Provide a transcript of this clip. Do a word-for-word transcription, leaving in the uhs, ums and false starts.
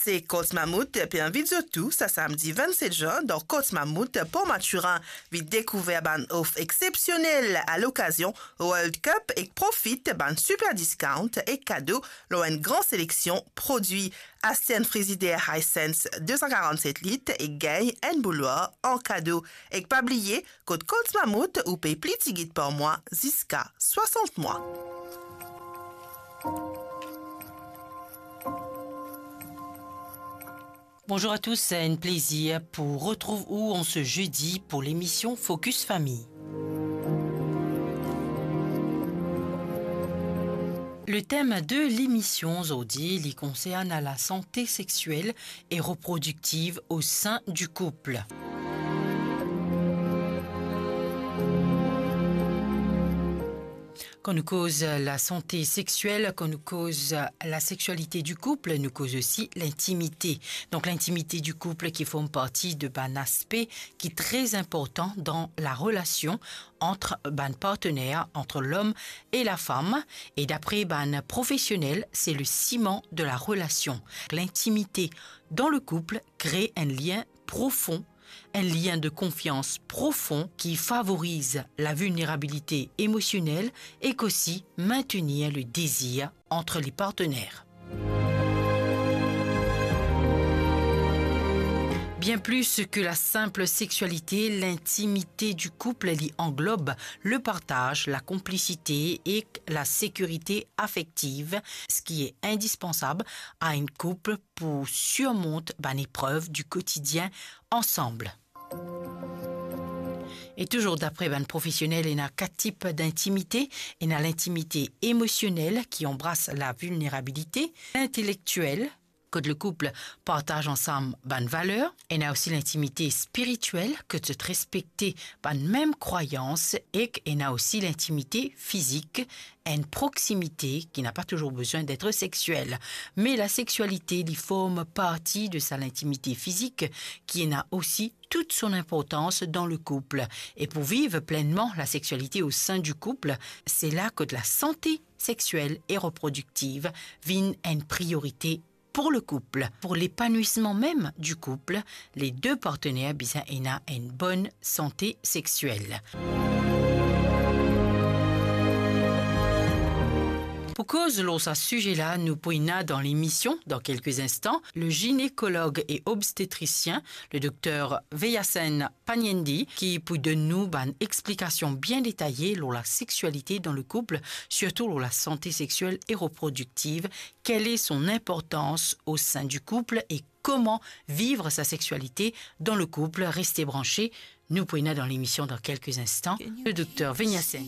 Se Courts Mammouth pe invit zot tou sa samdi vennset zan dan Courts Mammouth Port Mathurin. Vinn dekouver bann of exepsionel a lokazion World Cup ek profit bann super discount ek kado lor enn gran seleksion prodwi. Aste enn frizider Hisense de san karannset lit ek gagn enn bouloir an kado. Ek pa bliye, kot Courts Mammouth ou pey pli tigit par mwa ziska swasant mwa. Bonjour à tous, c'est un plaisir pour retrouver vous en ce jeudi pour l'émission Focus Famille. Le thème de l'émission aujourd'hui, il concerne la santé sexuelle et reproductive au sein du couple. Kan nou koz lasante sexiel, kan nou koz lasexualite di koup, nou koz osi lintimite. Donk, lintimite di koup ki form parti de bann aspe ki tre inportan dan larelasion ant bann partner, ant lom e lafam. E dapre bann profesionel, se le siman de larelasion. Lintimite dan le koup kre enn lien profon, enn lien de konfians profon ki favoriz lavilnerabilite emosionel ek osi maintenir le dezir ant le partner. Bien plus que la simple sexualité, l'intimité du couple li anglob le partaz, lakonplisite ek lasekirite afektiv, seki indispensab a enn koup pou sirmont bann eprev di kotidien ansam. E touzour dapre bann profesionel, ena kat tip dintimite. Ena lintimite emosionel ki anbras lavilnerabilite, intelektiel, kot le koup partaz ansam bann valer. Ena osi lintimite spiritiel, kot zot respekte bann mem krwayans, ek ena osi lintimite fizik, enn proximite ki napa touzour bizin d'être sexuel. Me lasexualite, li form parti de sa lintimite fizik ki ena osi tout son inportans dan le koup. E pou viv plenman lasexualite o sin di koup, se la kot lasante sexiel e reprodiktiv vinn enn priorite pou le koup. Pou lepanwisman mem di koup, le de partner bizin ena enn bonn sante sexiel. Pou koz lor sa size la, nou pou ena dan lemision, dan kelke instan, le ginekolog e obstetrisien, le dokter Veyasen Paniendi, ki pou donn nou bann explikasion bien detaye lor lasexualite dan le koup, sirtou lor lasante sexiel e reprodiktiv, quelle est son importance au sein du couple et comment vivre sa sexualité dans le couple. Reste branché, nou pou ena dan lemision dan kelke instan, le dokter Veyasen.